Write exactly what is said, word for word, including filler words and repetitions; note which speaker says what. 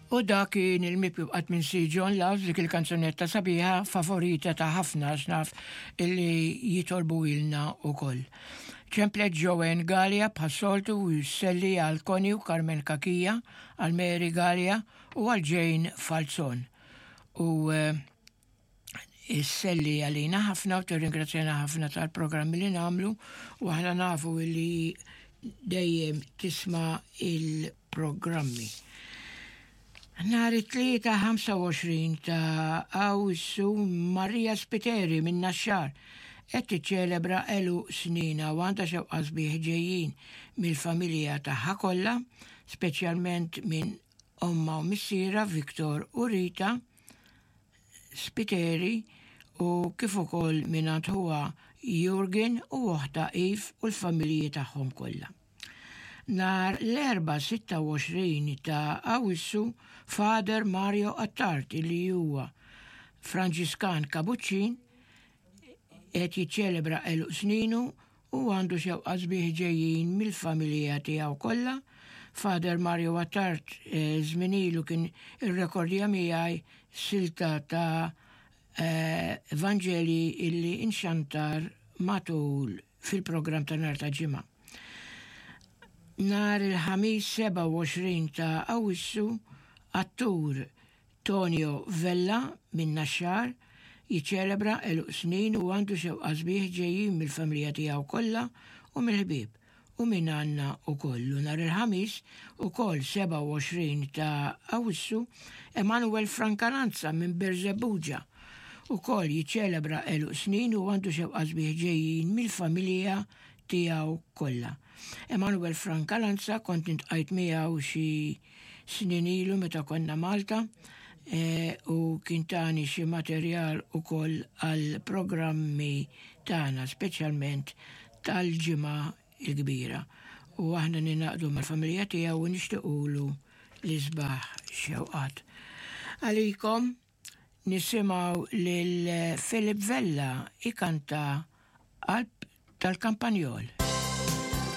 Speaker 1: U dak kien il-mibki bqajt minsi John Loves, dik il-kanzunetta sabiħa favorita ta' ħafna xnaf illi jitolbu ilna u koll. Ċemplet Joanne Gallia bħas-soltu u jselli għal Connie u Carmen Kakija, għal Mary Gallia u għal Jane Falzon. U eh, isselli għalina ħafna u tirringrazzjana ħafna tal-programmi li nagħmlu u aħna nafu li dejjem tisma' il-programmi. Nhar it-tlieta ħamsa u għoxrin ta' Awwissu, Maria Spiteri minn Naxxar qed tiċċelebra għeluq sninha u għandha xewqat sbieħ ġejjin mill-familja tagħha kollha, speċjalment minn omma u missiera Victor u Rita Spiteri u kif ukoll minn ħuha Jurgen u oħta Eve u l-familji tagħhom kollha. Nhar l-Erbgħa sitta u għoxrin ta' Awwissu, Father Mario Attard, li huwa Franġiskan Kabuċċin, qed jiċċelebra għeluq sninu u għandu xewqat sbieħ ġejjin mill-familja tiegħu kollha. Father Mario Attard eh, żmien ilu kien irrekordja miegħi silta ta' eh, Evangeli illi inxantar matul fil-programm ta' nhar ta' Ġimgħa. Nhar il-Ħamis sebgħa u għoxrin ta' Awwissu, attur Tonio Vella minn Naxxar jiċċelebra għeluq snin u għandu xewqat sbieħ ġejjin mill-familja tiegħu kollha u mill-ħbieb u minn għandna ukoll. Nhar il-Ħamis ukoll sebgħa u għoxrin ta' Awwissu, Emanuel Francalanza minn Birżebbuġa ukoll jiċċelebra għeluq snin u għandu xewqat sbieħ ġejjin mill-familja tiegħu kollha. Emanuel Francalanza kont iltqajt miegħu xi snin ilu meta konna Malta e, u kien tani xi materjal ukoll għal programmi tagħna, speċjalment tal-Ġimgħa il-Kbira. U aħna ningħaqdu mal-familja tiegħu u nixtiequlu l-isbaħ xewqat. Għalikom nisimgħu lil Philip Vella ikanta Qalb tal-Kampanjol.